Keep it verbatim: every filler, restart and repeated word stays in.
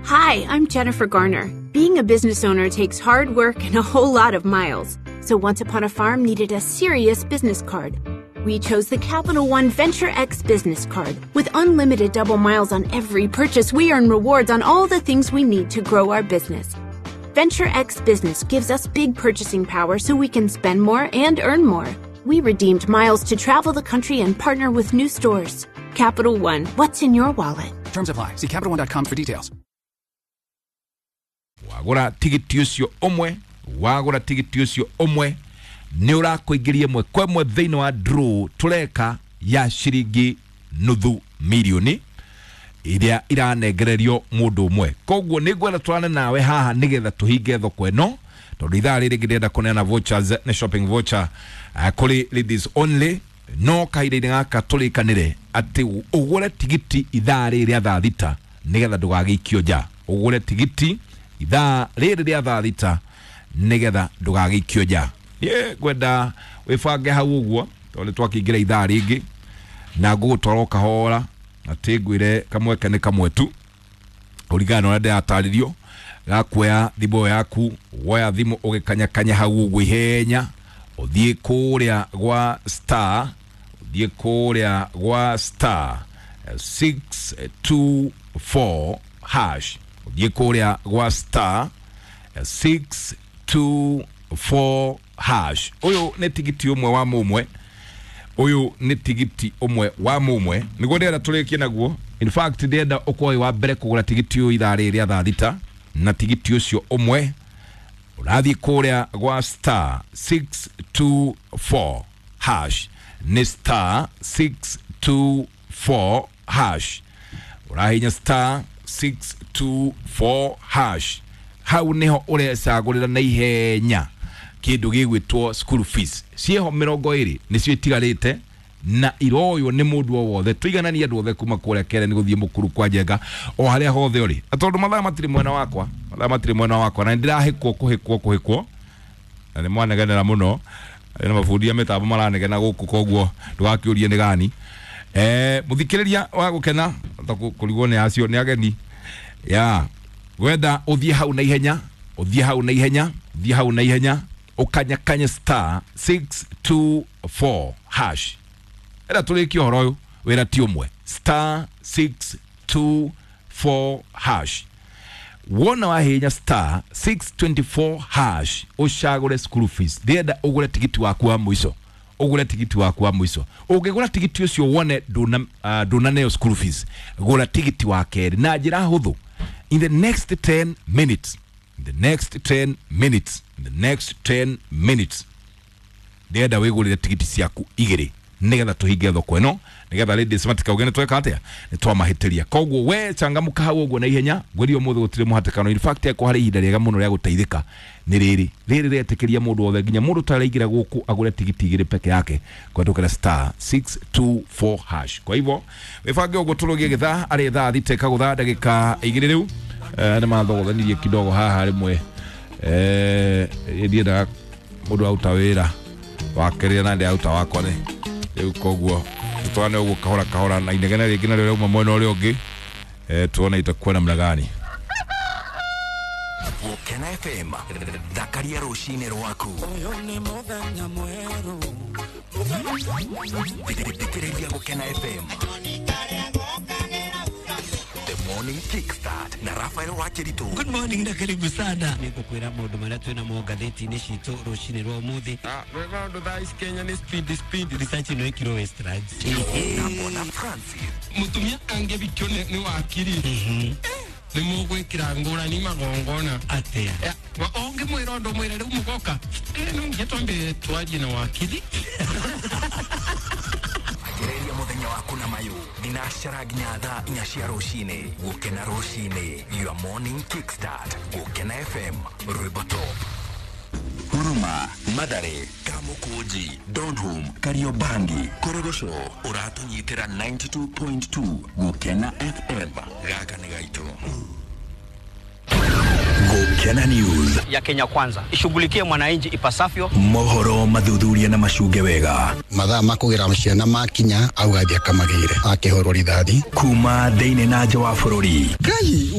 Hi, I'm Jennifer Garner. Being a business owner takes hard work and a whole lot of miles. So Once Upon a Farm needed a serious business card. We chose the Capital One Venture X business card. With unlimited double miles on every purchase, we earn rewards on all the things we need to grow our business. Venture X Business gives us big purchasing power so we can spend more and earn more. We redeemed miles to travel the country and partner with new stores. Capital One, what's in your wallet? Terms apply. See Capital One dot com for details. Wagura tigiti ucio umwe, wagura tigiti ucio umwe, ni urakuingiria mwe kwa mwe thiini wa draw tureka ya ciringi nuthu milioni iria iranengererio mundu umwe. Koguo ni ngwenda twarane nawe haha nigetha tuhinge thoko ino, tondu ithaa riri ngirenda kuneana vouchers ni shopping voucher uh, kuri ladies only. No kahinda-inĩ gaka tũrĩkanĩre atĩ ũgũre tigiti ithaa rĩrĩ rĩa thaa thita nigetha ndũgagĩikio nja. Ũgũre tigiti ithaa rĩrĩ rĩa thaa thita nigetha ndũgagĩikio nja. Niĩ ngwenda wĩbange hau ũguo tondũ nĩtwakĩingĩra ithaa rĩngĩ na ngũgũtwara o kahora na ti ngwĩre kamweke nĩ kamwe tu kũringana na ũrĩa ndĩratarĩrio. Gakuoya thimũ ĩyo yaku, woya thimũ ũgĩkanyakanya hau ũguo ihenya, ũthiĩ kũrĩa gwa star, ũthiĩ kũrĩa gwa star six two four hash, ũthiĩ kũrĩa gwa star six two four hash. Ũyũ nĩ tigiti ũmwe wa mũmwe, ũyũ nĩ tigiti ũmwe wa mũmwe nĩguo ndĩrenda tũrĩkie naguo. In fact ndĩrenda ũkorwo wĩ wa mbere kũgũra tigiti ũyũ ithaa rĩrĩ rĩa thaa thita, na tigiti ũcio ũmwe ũrathiĩ kũrĩa gwa star six two four hash, nĩ star six two four hash, ũrahinya star six two four hash. Hau niho ũrecagũrĩra na ihenya kĩndũ gĩgwĩtwo school fees. Ciĩho mĩrongo ĩrĩ nĩcio itigarĩte na iroywo nĩ mũndũ o wothe. Tũigananie andũ othe kuma kũrĩa Kere nĩ gũthiĩ Mũkuru kwa Njenga o harĩa hothe ũrĩ. Na tondũ mathaa matirĩ mwena wakwa, mathaa matirĩ mwena wakwa na nĩndĩrahĩkwo kũhĩkwo kũhĩkwo na nĩ mwanegenera mũno na mabundi a mĩtambo maranegena gũkũ, koguo ndũgakĩũrie nĩ gani. Eh, mũthikĩrĩria wa gũkena ta kũrigwo nĩ acio nĩ ageni ya gwenda ũthiĩ hau na ihenya, ũthiĩ hau na ihenya, ũthiĩ hau na ihenya ũkanyakanye star six two four hash. Era tũrĩkie ũhoro ũyũ wĩra ti ũmwe, star six two four hash. Wona wahinya star six two four hash ũcagũre school fees. Ndĩrenda ũgũre tigiti waku wa mũico, ũgũre tigiti waku wa mũico. Ũngĩgũra tigiti ũcio wone ndũna uh, ndũnaneo school fees, gũra tigiti wa kerĩ na njĩra hũthũ. In the next ten minutes, in the next ten minutes, in the next ten minutes ndĩrenda wĩgũrĩre tigiti ciaku igĩrĩ nigetha tuhinge thoko ĩno, nigetha ladies matikauge nĩ tweka atĩa, nĩ twamahĩtĩria. Koguo we changamka hau ũguo na ihenya, ngwĩrie ũmũthĩ gũtirĩ mũhatĩkano. In fact eko harĩ ihinda rĩega mũno rĩa gũteithĩka nĩ rĩrĩ rĩrĩ rĩetĩkĩria mũndũ wothe nginya mũndũ ũtaraingĩra gũkũ agũre tigiti igĩrĩ peke yake kũhetũkĩra star six two four hash. Kwa hivyo wĩbange ũguo tũrũgie gĩthaa arĩ thaa thita ĩkagũtha ndagĩka igĩrĩ rĩu. Eh, nĩ mathogothanĩrie kidogo haha rĩmwe, eh, ndiendaga mũndũ aruta wĩra wakerĩa na ndĩraruta wakwa nĩ rĩu, koguo tũtwarane ũguo kahora kahora na inegene rĩngĩ narĩo rĩauma mwena ũrĩa ũngĩ, eh, tuone itakuwa namna gani. Gũkena F M, thakaria rũcinĩ rwaku. Thikĩrĩria Gũkena F M. The Morning Kickstart na Rafael Wakiritu. Good morning na karibu sana. Nĩngũkwĩra maũndũ marĩa twĩna mo ngathĩti-inĩ citũ rũcinĩ rwa ũmũthĩ. Ah, rwĩmbo thaa ici Kenya nĩ speed speed. Research ĩno ĩkirwo Westlands. Na Bona Francis. Mũtumia angĩbikio nĩ wakiri nĩ mũgwĩkĩra ngũrani magongona. Atĩa? Ũngĩmwĩra ũndũ mwĩre rĩu mũgoka, no nginya twambe twarie na wakiri. Anjĩrĩria mũthenya waku na mayũ thinacara nginya thaa inya cia rũcinĩ. Gũkena rũcinĩ, your morning kickstart. Gũkena F M, rwĩmbo top. Huruma, Mathare, Kamukunji, Donholm, Kariobangi, Korogocho, ũratũnyitĩra ninety two point two Gũkena F M. Gaka nĩ gaitũ. Gũkena News ya Kenya Kwanza ishughulikie mwananchi ipasavyo. Mohoro mathuthuria na macunge wega. Mathaa ma kũgĩra ciana makinya augathia kamagĩire akĩhũrwo rithathi kuma thĩinĩ na nja wa bũrũri. Ngai